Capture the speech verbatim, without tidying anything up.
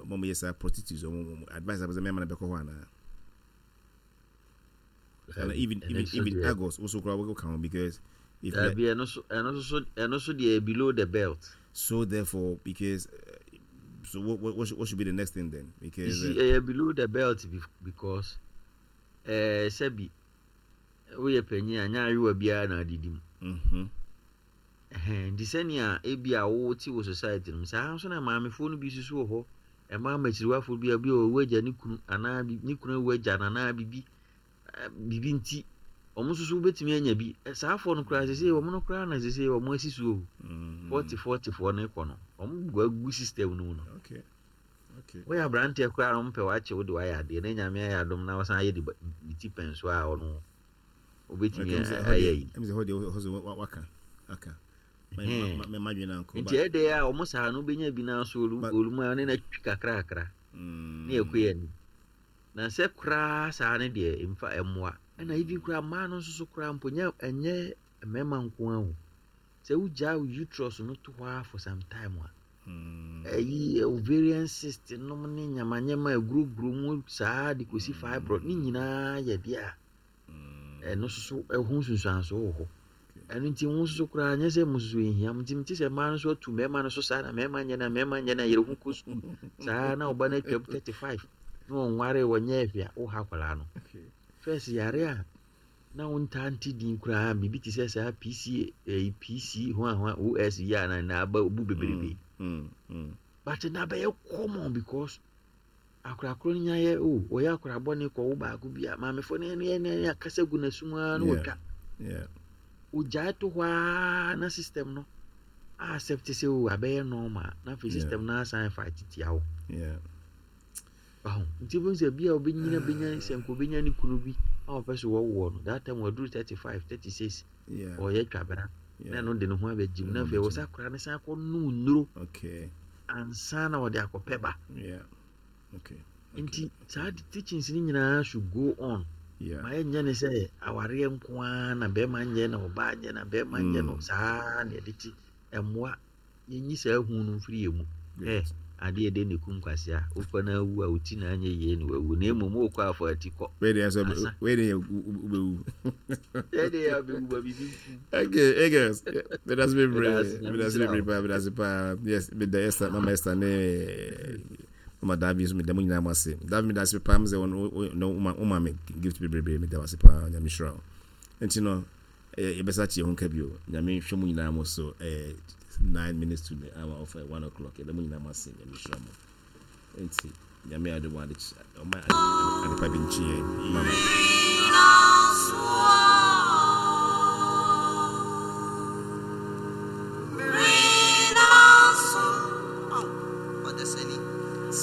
Ɔmo yɛ saa prostitutes, ɔmo advice abɛsɛ mɛma no bɛkɔ hɔ anaa? And even even even Argos also kora wɔkɔ ka ho because if Dabi, ɛno so ɛno so ɛno so deɛ, below the belt. So therefore, because uh, so what, what what should, what should be the next thing then? Because you see, uh, below the belt because ɛɛ sɛbi, woyɛ panyin a, nya ayewa biara na adidi mu. Mhm ɛhɛn, nti sɛnea ebi a wɔte wɔ society no mu saa nso na maamefoɔ no bi soso wɔ hɔ. Ɛmaa mmakyiriwafoɔ bi a bi a wɔwɔ agya ne kunu anaa bi ne kunu awu agya no anaa bibi bibi, nti wɔn nso so wobɛtumi anya bi. Saa afoɔ no koraa sese wɔn no koraa na sese wɔn asi so o. Mm. forty forty foɔ no kɔ no, wɔn gu agu system no mu no. okay okay Wɔyɛ aberanteɛ koraa na wɔn pɛ wakye wo de wayɛ adeɛ na Nyame ayɛ adom na wɔsan ayɛ de ba- ne ti pɛn so a, ɔno wobɛtumi ayɛ yi. Ɛmi sɛ hɔ deɛ, hɔ sɛ waka aka Ɛhɛn. mɛma dwene ankɔ. Nti ɛdɛ a wɔn saa no, wobɛnya bi na so But- olumu a ne na twi kakrakra ne yɛ kɔ yɛ anim na sɛ koraa saa ne deɛ mfa ɛmmoa. Ɛna even koraa mmaa no nso so koraa mpo, nyɛ ɛnyɛ mmarima nko ara o. Sɛ wogyaa wo uterus no to hɔ ara for some time a, ɛyi ovarian cyst nom ne nyamanyama aguroguro mu saa de kɔsi fibroid ne nyinaa yɛ deɛ a ɛno nso so ɛho nsunsuansoɔ wɔ hɔ. Ɛno nti wo nso so koraa, nyɛ sɛ mo nso so ɛhia mo. Nti mete sɛ mmaa no nso atu mmarima no so saa na mmarima nyɛ na mmarima nyɛ na yɛrɛ ho kɔ sukuu saa na ɔba no atwam thirty-five na ɔnware, wɔnyɛ ahwɛ a, woha akwaraa no. First, yare a na wontaa nte din koraa, biribi te sɛ saa P C ɛyi P C ho a ho a O S yi a na na aba bu bebrebe, but na bɛyɛ common because akorakoro no nya yɛ o, ɔyɛ akora bɔne kɔ wo baako bi a, maamefoɔ no ne ne akasa gu n'asum ara na wɔtwa ogyae to hɔ ara na system no accept sɛ o, abɛyɛ normal, na afei system no asan fa titia wo. Ɔho nti bi sɛ bi a obɛnyina bɛnya sɛ nka obɛnya ne kunu bi a ɔpɛ so wɔwoɔ no, that time waduru thirty-five, thirty-six, ɔyɛ twabra na ɛno de ne ho abɛgyim, na afei wɔ sɛ akora no san akɔ nom nnuro ansa na wɔde akɔpɛ ba. Nti saa teachings no nyinaa should go on. Ma yɛnyɛ ne sɛ awareɛ nko ara na bɛrima nyɛ na ɔbaa nyɛ na bɛrima nyɛ no saa na yɛde ti ɛmmoa. Yɛnyi saa hu no mfiri yɛ mu. Ɛ adeɛ de ne kum kwasea, wokɔ na awu a, woti na anyɛ yie ne wawu, na mmom wokɔ afɔ ati kɔ. Wei deɛ sɛ wei deɛ, wobɛwu. Ɛdeɛ yɛ abɛwu ba biribi nkum. Okay, hey girls, medase bebree, medase bebree paa, medase paa. Yes, meda Esther, Mama Esther ne Mama Davi nso, meda mo nyinaa mo ase. Davi, medase paa mo sɛ woma woma me gift bebree, meda wo ase paa. Nyame hyira wo. Nti no yɛbɛsa kye ho nka bio. Nyame hwɛ mo nyinaa mo so. Ɛyɛ nine minutes to the hour of one o'clock. Yɛda mo nyinaa mo ase. Nyame hyira mo. Nti Nyame ade mo ade ɔma adepa bi nkye yɛn. Mama.